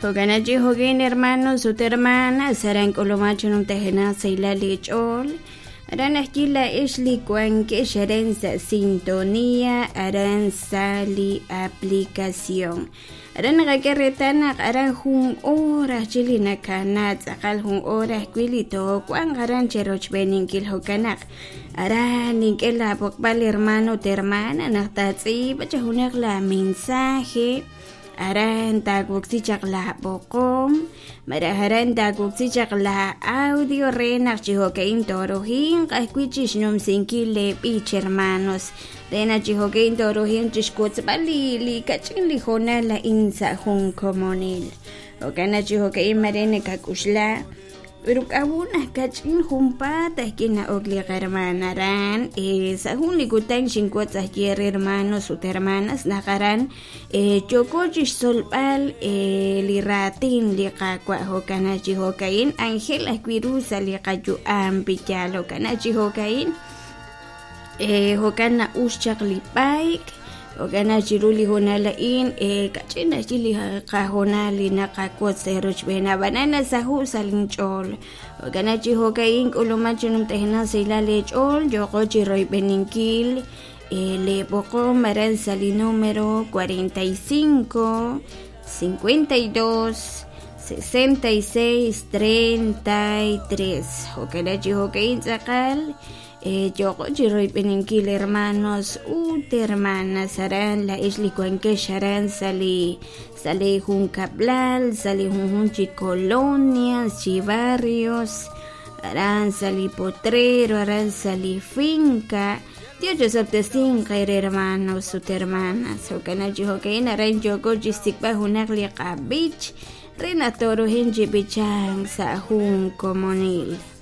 Jo'kan chi jo'kin hermanos ut hermanas aran k'uluman chi numtajenaq sahilal li ch'ool aran ajwi' laa'ex li wankex aran sa' sintonía aran sa' li aplicación aran naqak'e reetal naq aran jun hora ajwi' li nakana tz'aqal jun hora ajwi' li toowanq aran cherochb'eeninkil jo'kan naq aran nink'e laab'oqb'al hermano ut hermana naq taatz'iib'a chi junaq la mensaje aran taawoksi chaq laab'oqom malaj aran taawoksi chaq la audio re naq chi jo'ka'in tooruhinq ajwi' chi xnumsinkil leeb'ich hermanos re naq chi jo'ka'in tooruhinq chi xwotzb'al li li kach'in li hoonal a'in sa' jun komonil jo'kan naq chi jo'ka'in mare nakak'uxla Pero k'a'ut naq kach'in junpaat ajwi' na'ok li qahermaan aran sa' jun li kutan xinwotz ajwi' eere hermanos ut hermanas naq aran yooko chixtzolb'al li raatin li Qaawa' jo'kan naq chi jo'ka'in anjel ajwi' ru sa' li qayu'am piyaal jo'kan naq chi jo'ka'in jo'kan na'ux chaq li b'ayk jo'kan naq chiru li hoonal a'in kach'in ajwi' li qahoonal li naqawotz eerochb'een ab'anan nasaho' sa' linch'ool jo'kan naq chi jo'ka'in k'uluman chi numtajenaq sahilal eech'ool yooqo chi royb'eninkil leeb'oqom aran sa' li número 45 52 66 33 jo'kan naq chi jo'ka'in tz'aqal Yooko chi royb'eninkil hermanos ut hermanas aran laa'ex li wankex aran sa' li sa' li junkab'lal sa' li junjunq chi colonias chi barrios aran sa' li potrero aran sa' li finca Dios chosob'tesinq eere hermanos ut hermanas jo'kan naq chi jo'ka'in aran yooko chi xsik'b'al junaq li qab'ich re naq tooruhin chi b'ichank sa' jun komonil.